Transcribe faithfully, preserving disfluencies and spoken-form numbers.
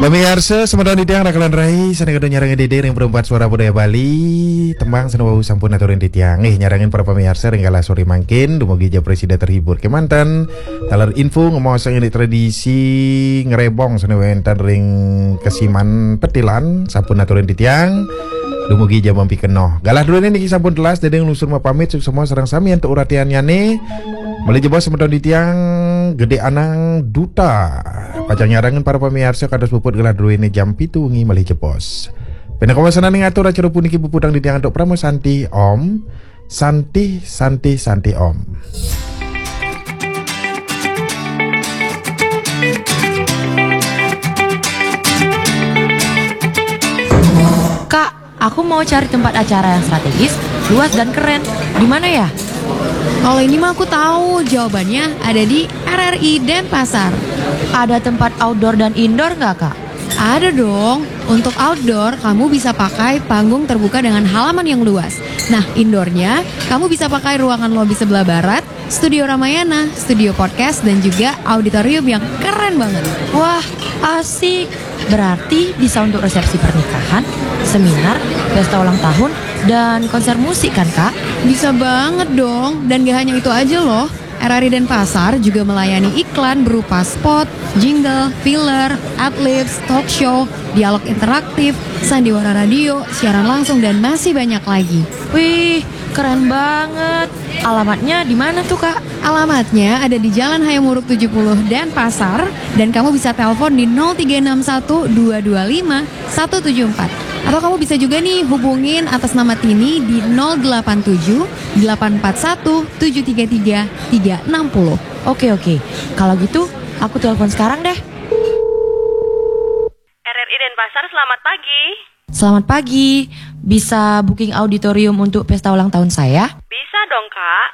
Pamiarsa, semeton titiang rakalan rai, sané kedah nyarengin diri ring Perempat Suara Budaya Bali, tembang sané wau sampun aturin titiang. Nggih, nyarengin para pamiarsa ring galah sore mangkin, dumugi ja prasida terhibur kemanten. Taler info ngemaosang indik tradisi ngrebong sané wénten ring Kesiman Petilan, sampun aturin titiang. Dumugi ja mampikenoh. Galah druéné niki sampun telas, Dédé nglungsur mapamit, suksma sareng sami antuk uratiannyané. Malih jebos semeton titiang Gedé Anang Duta. Pacang nyarengin para pamiarsa kados puput galah druéné jam pitu wengi malih jebos. Pinaka wasananing atur acara puniki puputang titiang antuk Parama Santi, Om. Santi, Santi, Santi, Om. Kak, aku mau cari tempat acara yang strategis, luas dan keren. Di mana ya? Kalau ini mah aku tahu, jawabannya ada di R R I Denpasar. Ada tempat outdoor dan indoor nggak, Kak? Ada dong. Untuk outdoor, kamu bisa pakai panggung terbuka dengan halaman yang luas. Nah, indoornya, kamu bisa pakai ruangan lobi sebelah barat, studio Ramayana, studio podcast, dan juga auditorium yang keren banget. Wah, asik. Berarti bisa untuk resepsi pernikahan, seminar, pesta ulang tahun, dan konser musik kan, Kak? Bisa banget dong. Dan gak hanya itu aja loh. R R I Denpasar juga melayani iklan berupa spot, jingle, filler, adlibs, talk show, dialog interaktif, sandiwara radio, siaran langsung, dan masih banyak lagi. Wih, keren banget. Alamatnya di mana tuh, Kak? Alamatnya ada di Jalan Hayam Wuruk tujuh puluh Denpasar, dan kamu bisa telepon di nol tiga enam satu dua dua lima satu tujuh empat. Atau kamu bisa juga nih hubungin atas nama Tini di nol delapan tujuh delapan empat satu tujuh tiga tiga tiga enam puluh. Oke, oke. Kalau gitu, aku telepon sekarang deh. R R I Denpasar, selamat pagi. Selamat pagi. Bisa booking auditorium untuk pesta ulang tahun saya? Bisa dong, Kak.